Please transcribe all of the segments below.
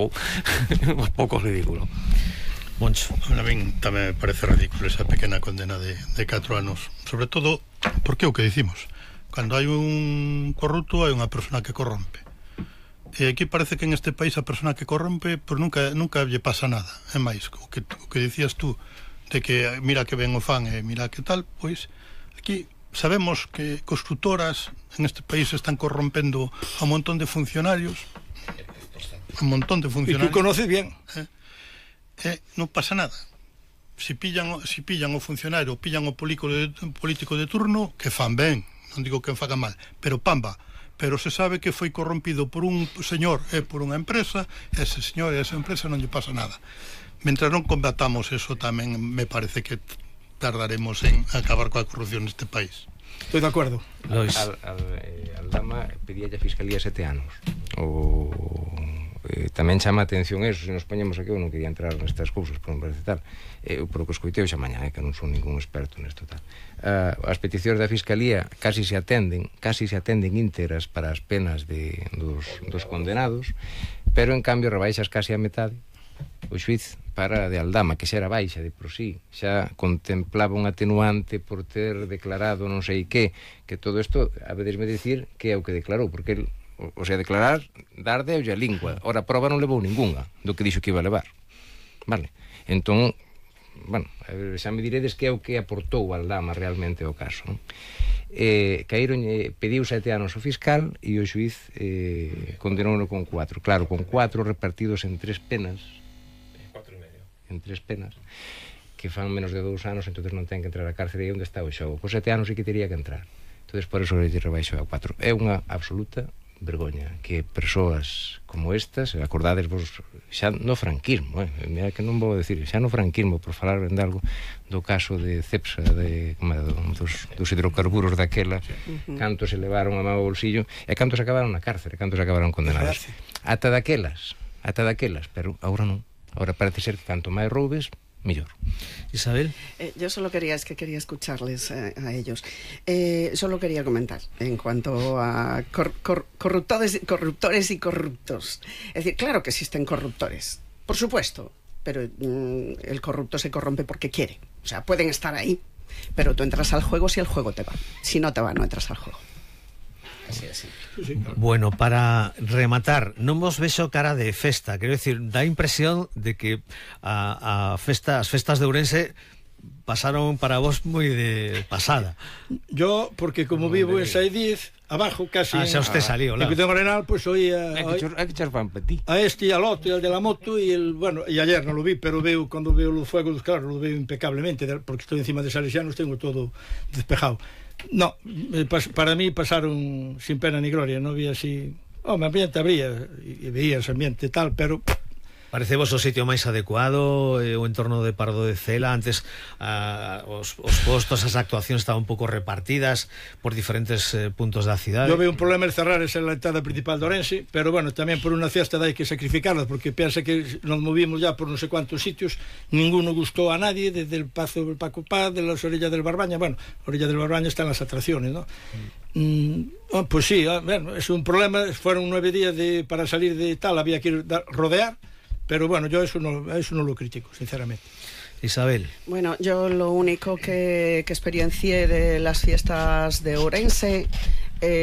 un pouco ridículo. Moncho. A min tamén me parece ridículo esa pequena condena de 4 anos, sobre todo porque é o que dicimos, cando hai un corrupto hai unha persona que corrompe, e aquí parece que en este país a persona que corrompe pues nunca lle pasa nada. É máis, o que dicías tú de que mira que ben o fan e mira que tal, pois aquí sabemos que constructoras en este país están corrompendo a un montón de funcionarios, e tú conoces bien. Non pasa nada. Si pillan o funcionario, pillan o político de turno, que fan ben, non digo que faga mal, pero pamba, pero se sabe que foi corrompido por un señor e por unha empresa, ese señor e esa empresa non lle pasa nada. Mentras non combatamos eso, tamén me parece que tardaremos en acabar coa corrupción neste país. Estou de acordo. Aldama pedíalle a Fiscalía 7 anos. Tamén chama a atención eso, se nos poñemos aquí, eu non quería entrar nestas cousas, por non parece tal, por o que escoitei xa mañá, que non son ningún experto nesto tal. As peticións da Fiscalía casi se atenden íntegras para as penas dos condenados, pero en cambio rebaixas casi a metade o xuiz para de Aldama, que xa era baixa de por sí, xa contemplaba un atenuante por ter declarado non sei que todo isto, habedesme dicir que é o que declarou, porque el, o sea, declarar, dar de a lingua. Ora, a prova non levou ningunha do que dixo que iba a levar. Vale? Entón, bueno, xa me diredes que é o que aportou Aldama realmente ao caso. Caíron, pediu 7 anos o fiscal e o xuiz condenouno con 4. Claro, con 4 repartidos en 3 penas. 4 e medio. En 3 penas que fan menos de 2 anos, entonces non ten que entrar a cárcere. E onde está o xogo? Con 7 anos sí que teria que entrar. Entonces por eso lle rebaixo a 4. É unha absoluta vergoña que persoas como estas, acordades vos xa no franquismo, mira que non vou decir, xa no franquismo, por falar de algo do caso de Cepsa, dos hidrocarburos daquela, cantos se levaron a mau bolsillo e cantos acabaron na cárcere, cantos acabaron condenados. Ata daquelas, pero agora non. Agora parece ser que canto máis roubes, mellor. Isabel. Yo solo quería escucharles a ellos. Solo quería comentar en cuanto a corruptores y corruptos. Es decir, claro que existen corruptores, por supuesto, pero el corrupto se corrompe porque quiere. O sea, pueden estar ahí, pero tú entras al juego si el juego te va. Si no te va, no entras al juego. Así. Bueno, para rematar, non vos vexo cara de festa, quero decir, dá impresión de que as festas de Ourense pasaron para vos moi de pasada. Yo, porque como vivo en Saidiz, abajo casi xa usted salió, en Cuitón Arenal, pues oía hai que echar pan para ti. A este y al otro, y al de la moto y ayer no lo vi, pero cuando veo los fuegos, claro, lo veo impecablemente, porque estoy encima de Salesianos, tengo todo despejado. No, para mí pasaron sin pena ni gloria, no había así... me ambiente habría, e veía ese ambiente tal, pero... Parecevos o sitio máis adecuado, o entorno de Pardo de Cela. Antes os postos, as actuacións estaban un pouco repartidas por diferentes puntos da cidade. Yo veo un problema de cerrar esa la entrada principal de Ourense, pero bueno, tamén por unha fiesta hai que sacrificarla, porque pensa que nos movimos ya por non sei cuántos sitios, ninguno gustó a nadie, desde el Pazo del Paco Paz, de las orillas del Barbaña. Bueno, orilla del Barbaña están las atracciones, ¿no? Pues sí, bueno, es un problema. Fueron 9 días para salir de tal, había que rodear. Pero bueno, yo eso no lo critico, sinceramente. Isabel. Bueno, yo lo único que experiencié de las fiestas de Ourense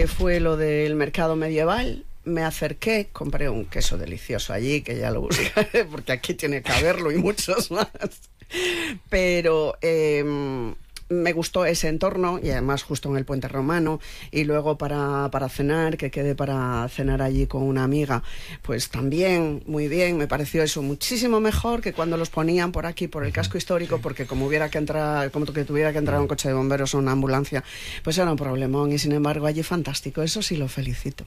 fue lo del mercado medieval. Me acerqué, compré un queso delicioso allí, que ya lo buscaré, porque aquí tiene que haberlo y muchos más. Pero... me gustó ese entorno, y además justo en el Puente Romano, y luego para cenar, que quedé para cenar allí con una amiga, pues también muy bien. Me pareció eso muchísimo mejor que cuando los ponían por aquí, por el casco histórico, porque como tuviera que entrar un coche de bomberos o una ambulancia, pues era un problemón. Y sin embargo allí fantástico, eso sí lo felicito.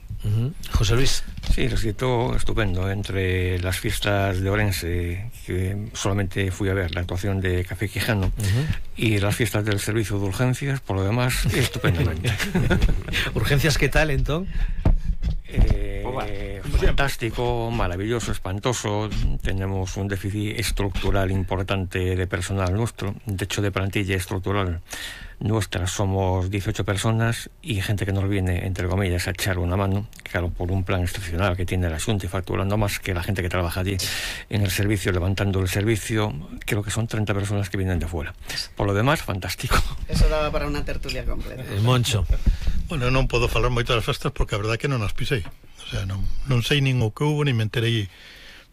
José Luis. Sí, resultó estupendo. Entre las fiestas de Ourense, que solamente fui a ver la actuación de Café Quijano, y las fiestas del servicio de urgencias, por lo demás, estupendamente. ¿Urgencias qué tal, entón? fantástico, maravilloso, espantoso. Tenemos un déficit estructural importante de personal nuestro. De hecho, de plantilla estructural nuestra somos 18 personas y gente que nos viene, entre comillas, a echar una mano, claro, por un plan excepcional que tiene la Xunta y facturando más que la gente que trabaja allí en el servicio, levantando el servicio. Creo que son 30 personas que vienen de fuera. Por lo demás, fantástico. Eso daba para una tertulia completa. Moncho. Bueno, non podo falar moito das festas porque a verdade é que non as pisei. O sea, non sei nin o que hubo, nin me enterei.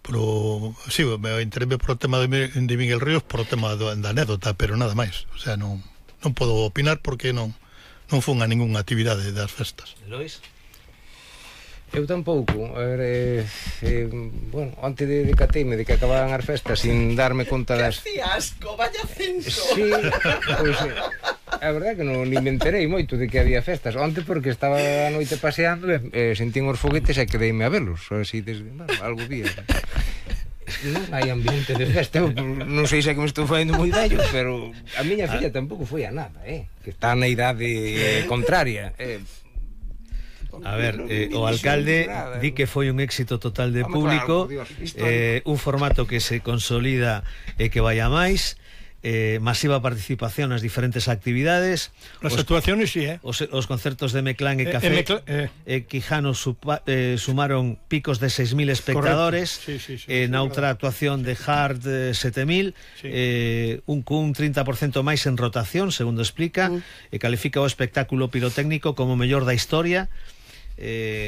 Pero, sí, me enterei por o tema de Miguel Ríos, por o tema da anécdota, pero nada máis. O sea, non podo opinar porque non fun a ningunha actividade das festas. Lois? Eu tampouco. A ver, bueno, antes de cateime de que acababan as festas sin darme conta das... Que asco, vaya censo. Sí, pois a verdade que non ni me enterei moito de que había festas. Antes porque estaba a noite paseando e sentín os foguetes e quedeime a velos. Así desde, bueno, algo día. Non hai ambiente de festa. Eu non sei se é que me estou facendo moi vello, pero a miña filla tampouco foi a nada, que está na idade contraria. A ver, o alcalde di que foi un éxito total de público, un formato que se consolida e que vai a máis, masiva participación nas diferentes actividades. As actuaciones, sí, os concertos de Meclán e Café e Quijano sumaron picos de 6.000 espectadores. Sí, na outra actuación de Hard 7.000, un 30% máis en rotación, segundo explica, e califica o espectáculo pirotécnico como mellor da historia.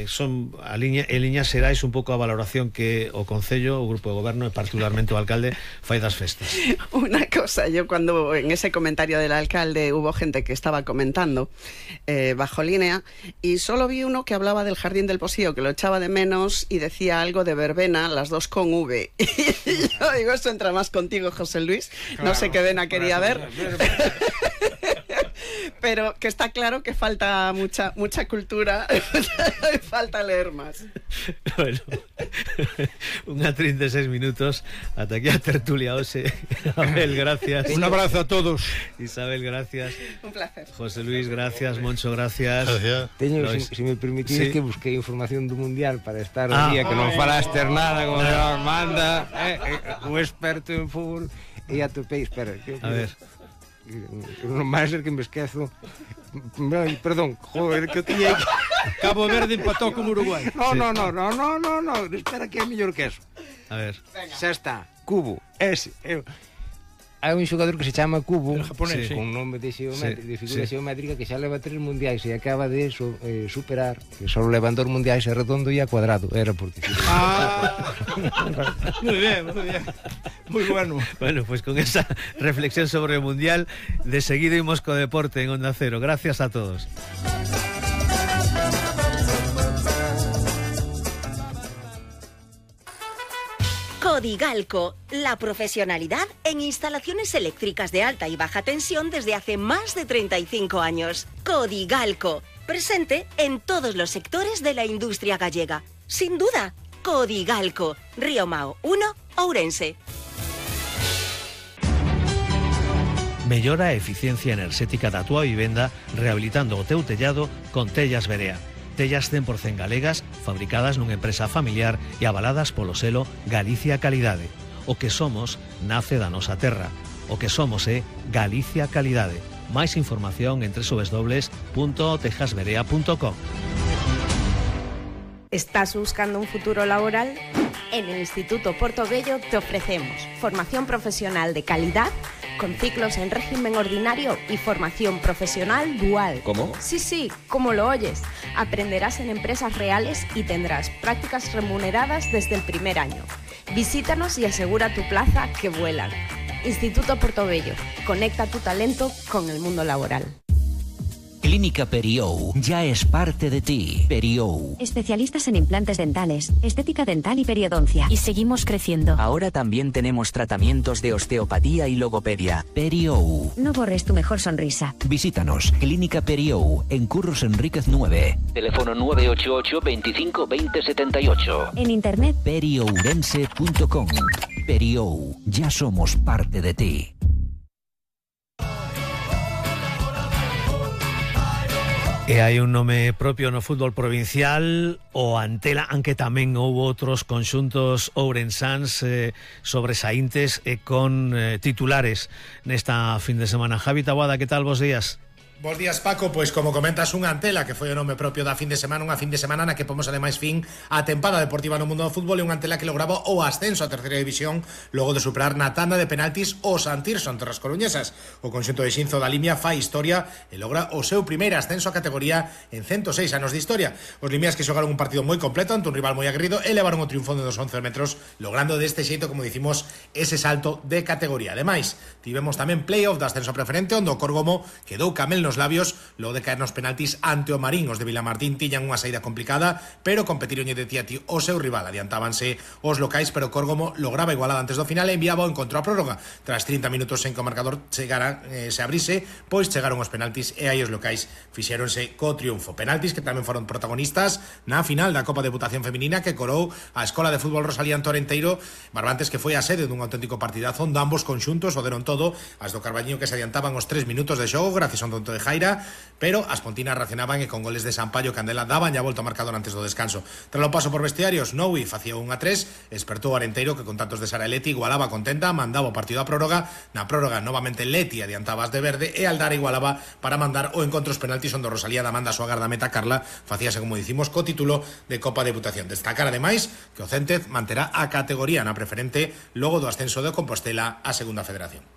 Son en liñas xerais un pouco a valoración que o Concello, o Grupo de Goberno e particularmente o alcalde fai das festas. Una cosa, yo cuando en ese comentario del alcalde hubo gente que estaba comentando bajo línea y solo vi uno que hablaba del Jardín del Posío, que lo echaba de menos y decía algo de verbena, las dos con V. Y yo digo, esto entra más contigo, José Luis. Claro, no sé qué vena quería ver. Pero que está claro que falta mucha cultura, falta leer más. Bueno, unha 36 minutos ata aquí a tertulia hoxe. Abel, gracias. Un abrazo a todos. Isabel, gracias. Un placer. José Luis, gracias. Moncho, gracias. Gracias. Si me permitís, que busquei información do Mundial para estar o día que non falaste nada como Dios manda, un experto en fútbol, e atopei, espera, a ver. Non vai ser que me esquezo. Perdón, joder, que eu tiña que... Cabo Verde empatou con Uruguai. No, espera que é mellor que eso. A ver. Xa está, Cubo, ese. Hai un xogador que se chama Cubo, japonés, con nome de figura xeométrica, que xa leva 3 mundiais e acaba de superar, que só levan 2 mundiais a redondo e a cuadrado. Era porque... Muy bien. Muy bueno. Bueno, pues con esa reflexión sobre el Mundial, de seguido imos co deporte en Onda Cero. Gracias a todos. Codigalco, la profesionalidad en instalaciones eléctricas de alta y baja tensión desde hace más de 35 años. Codigalco, presente en todos los sectores de la industria gallega. Sin duda, Codigalco, Río Mao 1, Ourense. Mellora a eficiencia enerxética da túa vivenda rehabilitando o teu tellado con Tellas Berea. Tellas 100% galegas, fabricadas nunha empresa familiar e avaladas polo selo Galicia Calidade. O que somos nace da nosa terra. O que somos é Galicia Calidade. Máis información en www.tejasberea.com. ¿Estás buscando un futuro laboral? En el Instituto Portobello te ofrecemos formación profesional de calidad con ciclos en régimen ordinario y formación profesional dual. ¿Cómo? Sí, como lo oyes. Aprenderás en empresas reales y tendrás prácticas remuneradas desde el primer año. Visítanos y asegura tu plaza que vuelan. Instituto Portobello. Conecta tu talento con el mundo laboral. Clínica Periou ya es parte de ti. Periou. Especialistas en implantes dentales, estética dental y periodoncia. Y seguimos creciendo. Ahora también tenemos tratamientos de osteopatía y logopedia. Periou. No borres tu mejor sonrisa. Visítanos, Clínica Periou, en Curros Enríquez 9. Teléfono 988 25 20 78. En internet, periourense.com. Periou, ya somos parte de ti. E hai un nome propio no fútbol provincial, o Antela, aunque tamén houve outros conxuntos ourensáns sobresaíntes e con titulares nesta fin de semana. Javi Taboada, que tal? Bos días. Bos días, Paco. Pois como comentas, unha Antela que foi o nome propio da fin de semana, unha fin de semana na que pomos ademais fin a tempada deportiva no mundo do fútbol, e unha Antela que lograba o ascenso a terceira división logo de superar na tanda de penaltis o Santirso ante as coruñesas. O conxunto de Xinzo da Limia fai historia e logra o seu primeiro ascenso a categoría en 106 anos de historia. Os limias que xogaron un partido moi completo ante un rival moi aguerrido e levaron o triunfo de 11 metros, logrando deste xeito, como dicimos, ese salto de categoría. Ademais, tivemos tamén playoff de ascenso preferente, onde o Córgomo quedou camel nos labios logo de caer nos penaltis ante o Marín. Os de Vilamartín tiñan unha saída complicada, pero competironlle de ti a ti o seu rival. Adiantábanse os locais, pero Córgomo lograba igualada antes do final e enviaba o encontro a prórroga. Tras 30 minutos sen que o marcador chegara, se abrise, pois chegaron os penaltis e aí os locais fixéronse co triunfo. Penaltis que tamén foron protagonistas na final da Copa de Deputación Feminina, que corou a Escola de Fútbol Rosalía Torenteiro, Barbantes, que foi a sede dun auténtico partidazo onde ambos conxuntos o deron todo. As do Carballiño que se adiantaban os 3 minutos de xogo gracias a un tonto de Jaira, pero as pontinas reaccionaban e con goles de Sampaio Candela daban ya volta ao marcador antes do descanso. Tras o paso por vestiarios, Noui facía 1-3, despertou o Arenteiro, que con tantos de Sara e Leti igualaba contenta, mandaba o partido a prórroga. Na prórroga novamente Leti adiantaba as de verde e Aldara igualaba para mandar o encontro os penaltis, onde Rosalía da manda a súa gardameta Carla facíase, como dicimos, co título de Copa de Deputación. Destacar ademais que o Céntez manterá a categoría na preferente logo do ascenso de Compostela á segunda federación.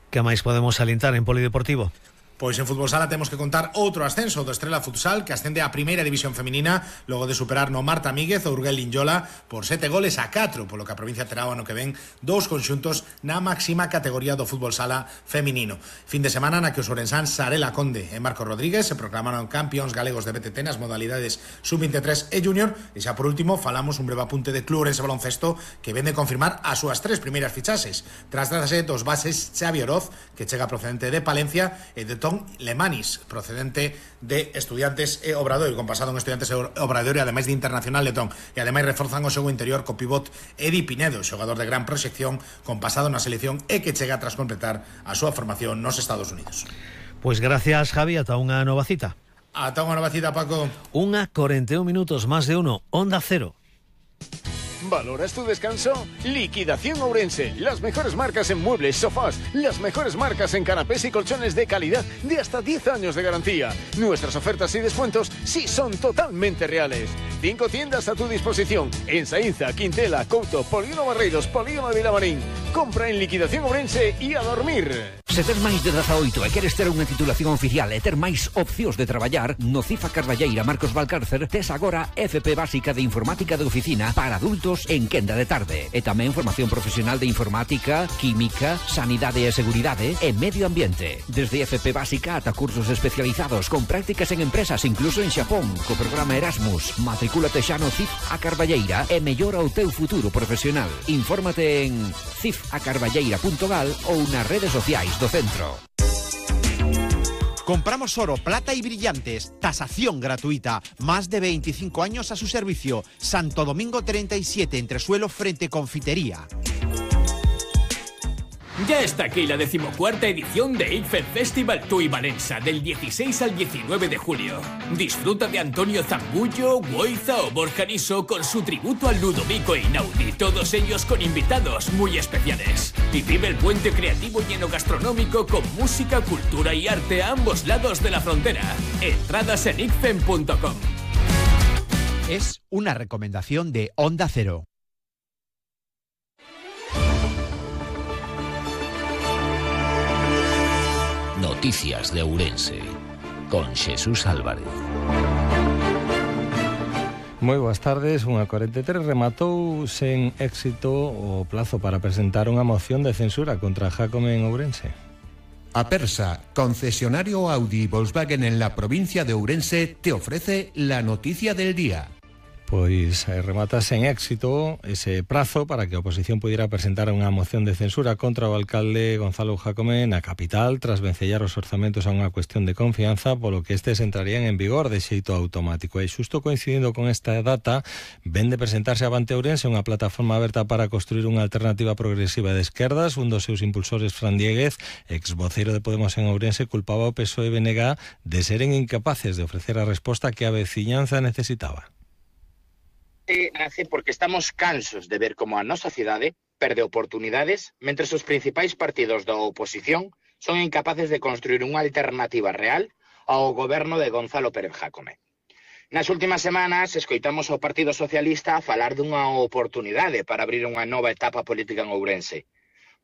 Que máis podemos salientar en polideportivo? Pois en fútbol sala temos que contar outro ascenso do Estrela Futsal, que ascende á primeira división feminina logo de superar no Marta Míguez o Urgel Linyola por 7-4, polo que a provincia terá o ano que ven dous conxuntos na máxima categoría do fútbol sala feminino. Fin de semana na que os ourensáns Sarela Conde e Marcos Rodríguez se proclamaron campións galegos de BTT nas modalidades sub-23 e junior. E xa por último falamos un breve apunte de Club Ourense Baloncesto, que vende confirmar as súas 3 primeiras fichaxes. Trátase dos bases Xavi Oroz, que chega procedente de Palencia, e de Lemanis, procedente de Estudiantes e Obradoiro, con pasado en Estudiantes e Obradoiro, e ademais de internacional letón. E ademais reforzan o xogo interior co pivot Edi Pinedo, xogador de gran proxección con pasado na selección e que chega tras completar a súa formación nos Estados Unidos. Pois gracias, Javi, ata unha nova cita. Ata unha nova cita, Paco. 1:41 minutos, más de uno, Onda Cero. ¿Valoras tu descanso? Liquidación Ourense. Las mejores marcas en muebles, sofás, las mejores marcas en canapés y colchones de calidad de hasta 10 años de garantía. Nuestras ofertas y descuentos sí son totalmente reales. 5 tiendas a tu disposición en Saínza, Quintela, Couto, Polígono Barreiros, Polígono de Vilamarín. Compra en Liquidación Ourense e a dormir. Se tes máis de 18 e queres ter unha titulación oficial e ter máis opcións de traballar, no CIF a Carballeira Marcos Valcárcer tes agora FP básica de informática de oficina para adultos en quenda de tarde. E tamén formación profesional de informática, química, sanidade e seguridade e medio ambiente. Desde FP básica ata cursos especializados con prácticas en empresas, incluso en Xapón, co programa Erasmus. Matricúlate xa no CIF a Carballeira e mellora o teu futuro profesional. Infórmate en cifacarballeira.gal ou nas redes sociais do centro. Compramos oro, plata y brillantes. Tasación gratuita. Más de 25 años a su servicio. Santo Domingo 37, entresuelo frente Confitería. Ya está aquí la 14ª edición de ICFED Festival Tui Valença, del 16 al 19 de julio. Disfruta de Antonio Zambullo, Goiza o Borja Niso con su tributo al Ludovico Einaudi, todos ellos con invitados muy especiales. Y vive el puente creativo y enogastronómico con música, cultura y arte a ambos lados de la frontera. Entradas en icfen.com. Es una recomendación de Onda Cero. Noticias de Ourense con Xesús Álvarez. Moi boas tardes. Unha 43 rematou sen éxito o plazo para presentar unha moción de censura contra Jacome en Ourense. Apersa, concesionario Audi y Volkswagen en la provincia de Ourense, te ofrece la noticia del día. Pois rematase en éxito ese prazo para que a oposición pudiera presentar unha moción de censura contra o alcalde Gonzalo Jácome na capital tras vencellar os orzamentos a unha cuestión de confianza, polo que estes entrarían en vigor de xeito automático. E xusto coincidindo con esta data, ven de presentarse Avante Ourense, unha plataforma aberta para construir unha alternativa progresiva de esquerdas. Un dos seus impulsores, Fran Diéguez, ex voceiro de Podemos en Ourense, culpaba ao PSOE e BNG de seren incapaces de ofrecer a resposta que a veciñanza necesitaba. Nace porque estamos cansos de ver como a nosa cidade perde oportunidades mentre os principais partidos da oposición son incapaces de construir unha alternativa real ao goberno de Gonzalo Pérez Jácome. Nas últimas semanas escoitamos ao Partido Socialista a falar dunha oportunidade para abrir unha nova etapa política en Ourense.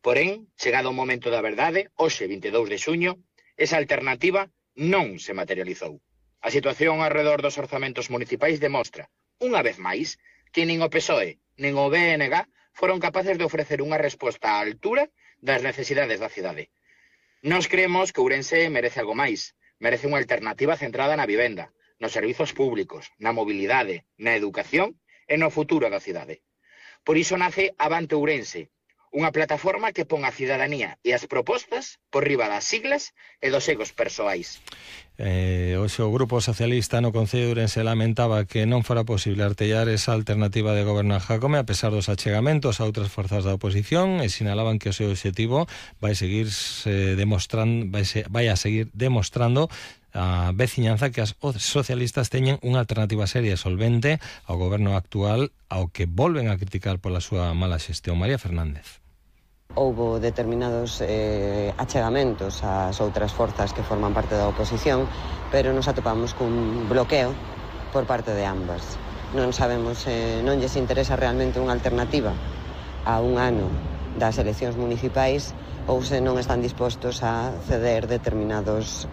Porén, chegado o momento da verdade, hoxe 22 de xuño, esa alternativa non se materializou. A situación alrededor dos orzamentos municipais demostra, unha vez máis, que nin o PSOE nin o BNG foron capaces de ofrecer unha resposta á altura das necesidades da cidade. Nós creemos que Ourense merece algo máis, merece unha alternativa centrada na vivenda, nos servizos públicos, na mobilidade, na educación e no futuro da cidade. Por iso nace Avante Ourense, unha plataforma que pon a cidadanía e as propostas por riba das siglas e dos egos persoais. Hoxe o Grupo Socialista no Concello de Ourense lamentaba que non fora posible artellar esa alternativa de goberno a Jácome a pesar dos achegamentos a outras forzas da oposición, e sinalaban que o seu objetivo vai a seguir demostrando a veciñanza que as socialistas teñen unha alternativa seria e solvente ao goberno actual, ao que volven a criticar pola súa mala xestión. María Fernández. Houbo determinados achegamentos ás outras forzas que forman parte da oposición, pero nos atopamos cun bloqueo por parte de ambas. Non sabemos, non lles interesa realmente unha alternativa a un ano das eleccións municipais, ou se non están dispostos a ceder determinados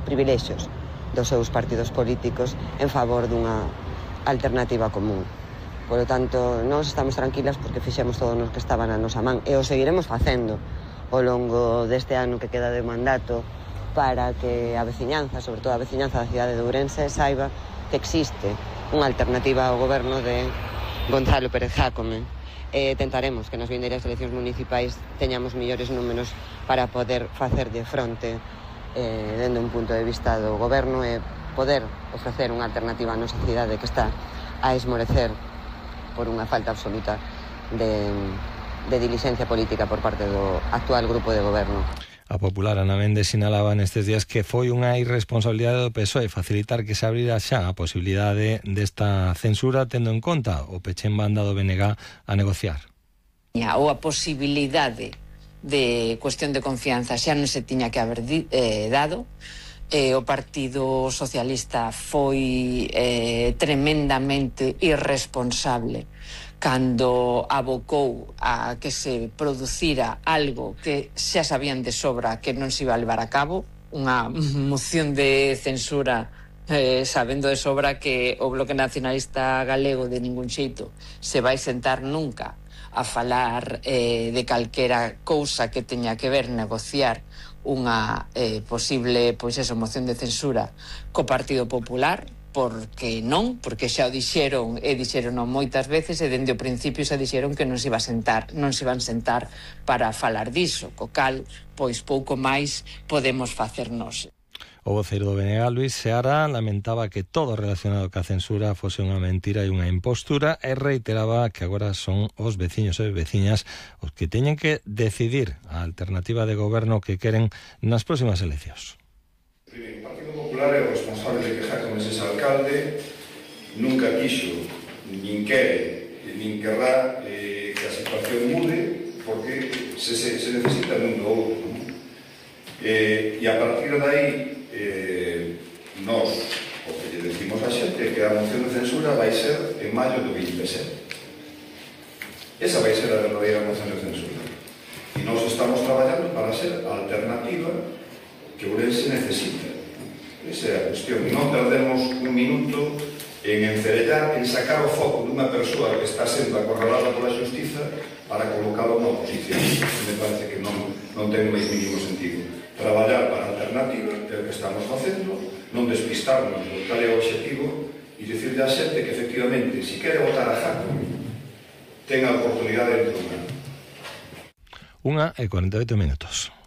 privilexios dos seus partidos políticos en favor dunha alternativa común. Por lo tanto, nós estamos tranquilas porque fixemos todo o que estaba na nosa man e o seguiremos facendo ao longo deste ano que queda de mandato para que a veciñanza, sobre todo a veciñanza da cidade de Ourense, saiba que existe unha alternativa ao goberno de Gonzalo Pérez Jácome. Tentaremos que nas vindeiras eleccións municipais teñamos mellores números para poder facer de fronte dende un punto de vista do goberno e poder ofrecer unha alternativa a nosa cidade que está a esmorecer por unha falta absoluta de diligencia política por parte do actual grupo de goberno. A Popular, Ana Méndez, sinalaba nestes días que foi unha irresponsabilidade do PSOE facilitar que se abrira xa a posibilidade desta censura, tendo en conta o peche en banda do BNG a negociar. Ou a posibilidade de cuestión de confianza xa non se tiña que haber dado. O Partido Socialista foi tremendamente irresponsable cando abocou a que se producira algo que xa sabían de sobra que non se iba a levar a cabo, unha moción de censura sabendo de sobra que o Bloque Nacionalista Galego de ningún xeito se vai sentar nunca a falar de calquera cousa que teña que ver negociar unha posible moción de censura co Partido Popular, porque xa o dixeron e dixeron moitas veces e dende o principio xa dixeron que non se iban sentar para falar diso, co cal pouco máis podemos facernos. O voceiro do BNG, Luís Seara, lamentaba que todo relacionado ca censura fose unha mentira e unha impostura e reiteraba que agora son os veciños e veciñas os que teñen que decidir a alternativa de goberno que queren nas próximas eleccións. O Partido Popular é o responsable de que Jácome sexa alcalde, nunca quixo, nin quere, nin querrá que a situación mude porque se necesita nun do outro. E a partir de aí nós o que lle decimos a xente é que a moción de censura vai ser en maio do 27. Esa vai ser a verdadeira moción de censura e nós estamos traballando para ser a alternativa que Ourense necesita. Esa é a cuestión. Non perdemos un minuto en encerellar, en sacar o foco dunha persoa que está sendo acorralada pola xustiza para colocalo na oposición. Me parece que non ten máis mínimo sentido. Traballar para a alternativa, que é o que estamos facendo, non despistarnos do cal é o objetivo e e dicirle a xente que efectivamente, se quere votar a Jaco, ten a oportunidade dentro dun ano. 1:48.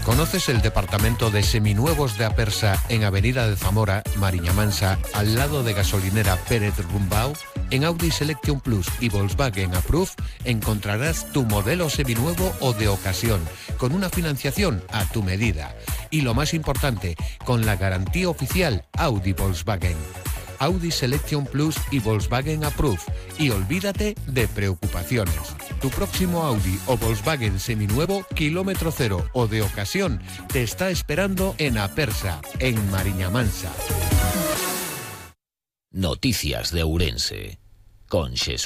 ¿Conoces el departamento de seminuevos de Apersa en Avenida de Zamora, Mariña Mansa, al lado de gasolinera Pérez Rumbao? En Audi Selection Plus y Volkswagen Approve encontrarás tu modelo seminuevo o de ocasión, con una financiación a tu medida. Y lo más importante, con la garantía oficial Audi Volkswagen. Audi Selection Plus y Volkswagen Approve. Y olvídate de preocupaciones. Tu próximo Audi o Volkswagen seminuevo, kilómetro cero o de ocasión, te está esperando en Apersa, en Mariña Mansa. Noticias de Ourense, con Jesús